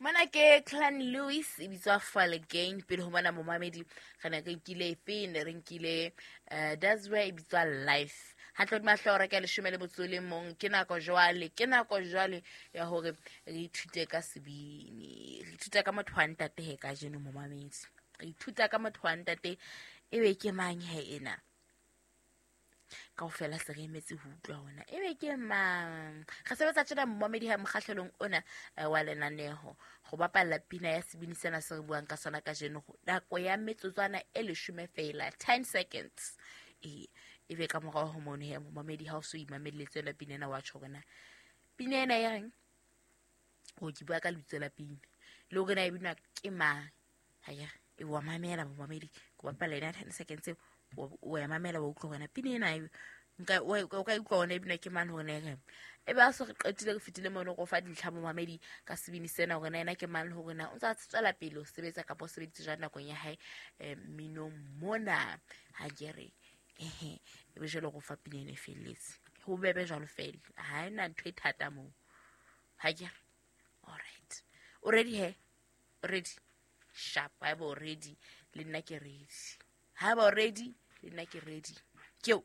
Mona ke Clan Lewis e bitswa Fall Again. Pele ho mona momamedi re ne re nkile efe? Ne re nkile Dasware e bitswa Life. Hantle hodima hlooho re ka 11. Ke nako jwale, ke nako jwale ya hore re ithute ka sebini. Re ithuta ka motho wa ntate he kajeno momamedi. Re ithuta ka motho wa ntate, ebe ke mang he ena? Kaofela se re emetse ho utlwa hona ebe ke mang. Re sebetsa tjena momamedi ha mokgahlelong ona wa lenaneho go bapalla pina ya sebini sena se re buang ka sona kajeno nako ya metsotswana e 10 feela, 10 seconds. Ee, ebe ka morao ho mono he momamedi ha o so imamelletse yona pina ena, wa tjho hore na pina ena e reng, o ke bua ka lebitso la pina le hore na e binwa ke mang. Akere e wa mamela momamedi, ke bapalla ena 10 seconds eo, wa ya mamela, wa utlwa hore na pina ena nka o ka utlwa hore e binwa ke mang, hore na e reng. E ba so re qetile, re fetile mono go fa dintlha momamedi ka sebini sena, hore na ena ke mang le hore na o ntse a tswela pele ho sebetsa kapa o sebeditse jwang nakong ya hae mminong mona. Ha ke re ehe, e be jwale go fa pina ena e felletse, ho bebe jwalo fela, ha ena ntho e thata moo. Ha ke re alright, o ready he? Ready sharp. Ha eba o ready, le nna ke ready. Ha eba o ready, le nna ke ready. Ke eo.